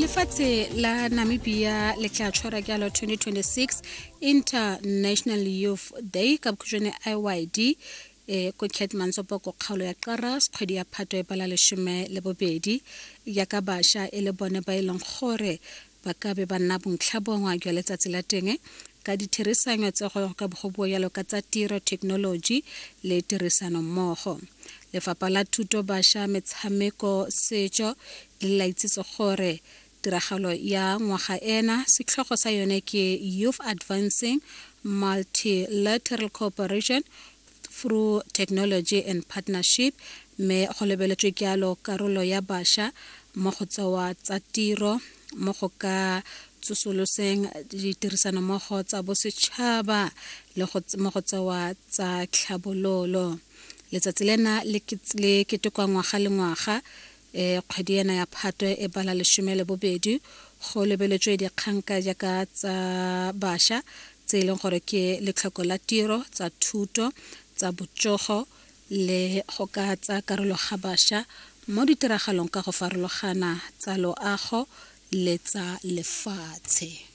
Lefatshe la Namibia le tla tshwara jalo 2026 International Youth Day ka bokhutshwane IYD e ko Keetmanshoop ko kgaolo ya Qaras kgwedi ya Phatwe e bala 12 jaaka bašwa e le bone ba e leng gore ba ka be ba nna bontlhabongwe jwa letsatsi la teng ka ditherisanyo tse go ka go bua jalo ka tsa tiro, thekenoloji le tirisano mmogo. Lefapha la Thuto, Bašwa, Metshameko, Setso le la itsitse gore tiragalo ya ngwaga ena setlhogo sa yone ke Youth Advancing Multilateral Cooperation through Technology and Partnership mme go lebeletswe jalo karolo ya bašwa mo go tsewa tsa tiro mo go ka tsosoloseng ditirisanommogo tsa bosetšhaba le mo go tsewa tsa tlhabololo. Letsatsi lena le ketekwa ngwaga le ngwaga e kgwedi ena ya Phatwe e bala 12 go lebeletswe dikgang ka jaaka tsa bašwa tse e leng gore ke letlhoko la tiro, tsa thuto, tsa botsogo le go ka tsa karolo ga bašwa mo ditiragalong ka go farologana tsa loago le tsa lefatshe.